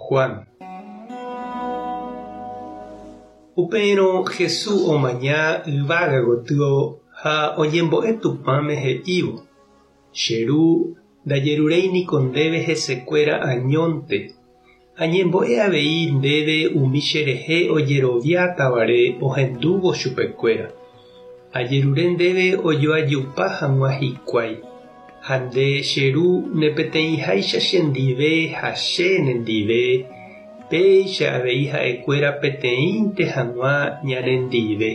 Juan. Upérõ Jesús omaña yvága gotyo ha oñembo'e Tupãme he'ívo, Che Ru, ndajeruréi niko ndéve hesekuéra añónte, añembo'e avei ndéve umi cherehe ojeroviátavare ohendúvo chupekuéra. Ajerure ndéve ojoajupa hag̃ua hikuái, ha nde, che Ru, ne peteĩháicha chendive ha che nendive, péicha avei ha'ekuéra peteĩnte hag̃ua ñanendive.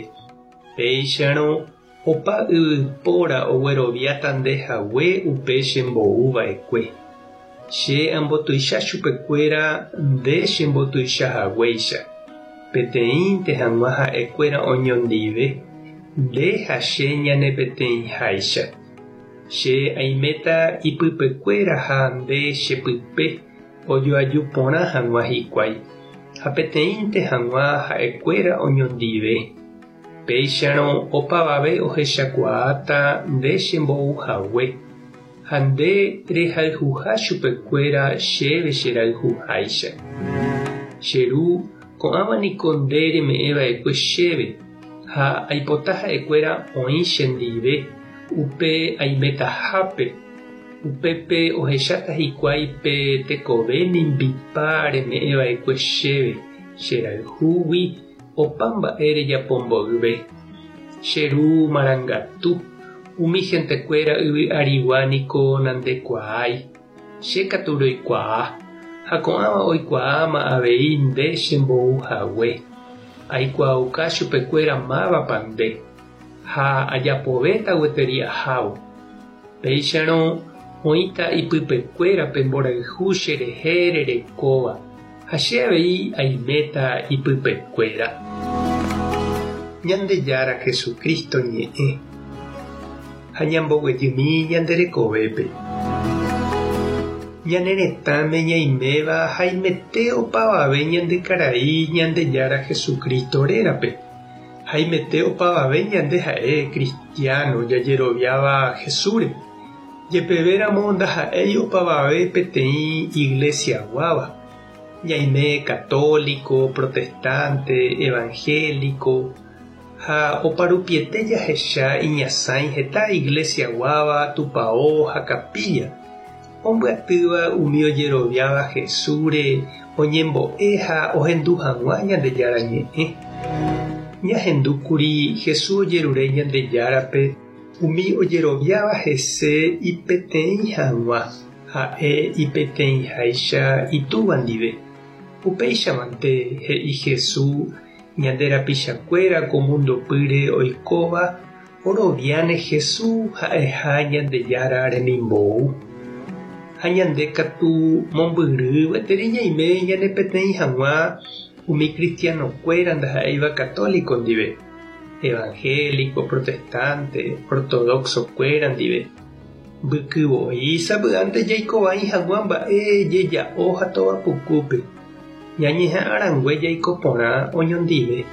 Péicharõ, opa yvypóra ogueroviáta nde hague upe chembou va'ekue. Che ambotuicha chupekuéra nde chembotuicha haguéicha, peteĩnte hag̃ua ha'ekuéra oñondive, nde ha che ñane peteĩháicha. Che aiméta ipypekuéra ha nde chepype ojoaju porã hag̃ua hikuái, ha peteĩnte hag̃ua ha'ekuéra oñondive. Péicharõ opavave ohechakuaáta nde chembou hague, ha nde rehayhuha chupekuéra chéve cherayhuháicha. Che Ru, ko'ãva niko nde reme'ẽ va'ekue chéve, ha aipota ha'ekuéra oĩ chendive upe aimetahápe, upépe ohecháta hikuái pe tekove mimbipa reme'ẽ va'ekue chéve cherayhúgui Opa mba'e rejapo mboyve. Che Ru marangatu, umi hentekuéra yvy arigua niko nandekuaái, che katu roikuaa, ha ko'ãva oikuaáma avei nde chembou hague. Aikuaauka chupekuéra mávapa nde, ha ajapovéta gueteri ahávo. Péicharõ oĩta ipypekuéra pe mborayhu cherehe rerekóva. Ha che avei aiméta ipypekuéra. Ñandejára Jesucristo ñe'ẽ ha ñamboguejymi ñande rekovépe. Ñane retãme ñaiméva haimete opavave ñande karai Ñandejára Jesucristo rérape. Haimete opavave ñande ha'e cristiano jajeroviáva Jesúsre. Jepevéramo ndaha'éi opavave peteĩ iglesiaguáva, ñaime católico, protestante, evangélico, ha oparupiete jahecha iñasãi heta iglesiaguáva, tupao ha capilla, ombyatýva umi ojeroviáva Jesúsre oñembo'e ha ohendu hag̃ua Ñandejára Ñe'ẽ. Ñahendúkuri Jesús ojerure Ñandejárape Umi ojeroviáva hese ipeteĩ hag̃ua, ha'e ipeteĩháicha Itúva ndive. Upéichamante, he'i Jesús, ñande rapichakuéra ko mundopýre oikóva oroviáne Jesús ha'eha Ñandejára remimbou. Ha ñande katu mombyry gueteri ñaime ñanepeteĩ hag̃ua umi kristianokuéra ndaha'éiva katóliko ndive. Evangélico, protestante, ortodoxo-kuéra ndive. Mbyky voi sapy'ánte jaiko vai hag̃ua mba'e jeja'o ha tova pukúpe, ñañeha'ã rangue jaiko porã oñondive.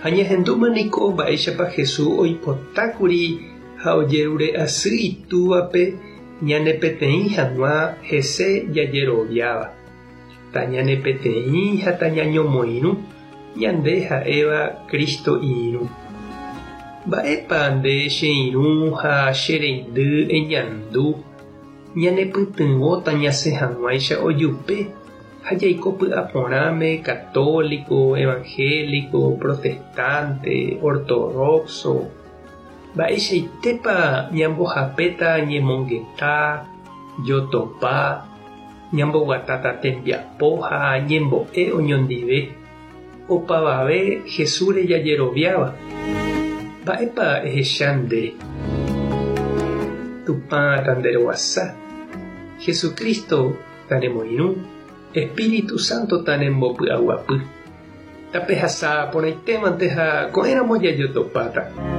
Ha ñahendúma niko mba'éichapa Jesús oipotákuri ha ojerure asy Itúvape ñanepeteĩ hag̃ua hese jajeroviáva. Tañanepeteĩ ha tañañomoirũ. Ñande ha'éva Cristo irũ. Mba'épa nde che irũ ha che reindy eñandu ñanepytyvõta ñasẽ hag̃uáicha ojupe ha jaiko py'aporãme católico, evangélico, protestante, ortodoxo? Mba'eichaitépa ñambohapéta ñemongeta, jotopa, Ñamboguatáta tembiapo ha ñembo'e oñondive, opavave Jesúsre jajeroviáva. Mba'épa ehecha nde? Tupã tanderovasa, Jesucristo tanemoirũ, Espíritu Santo tanembopy'aguapy. Tapehasa porãitémante ha ko'ẽramo jajotopáta.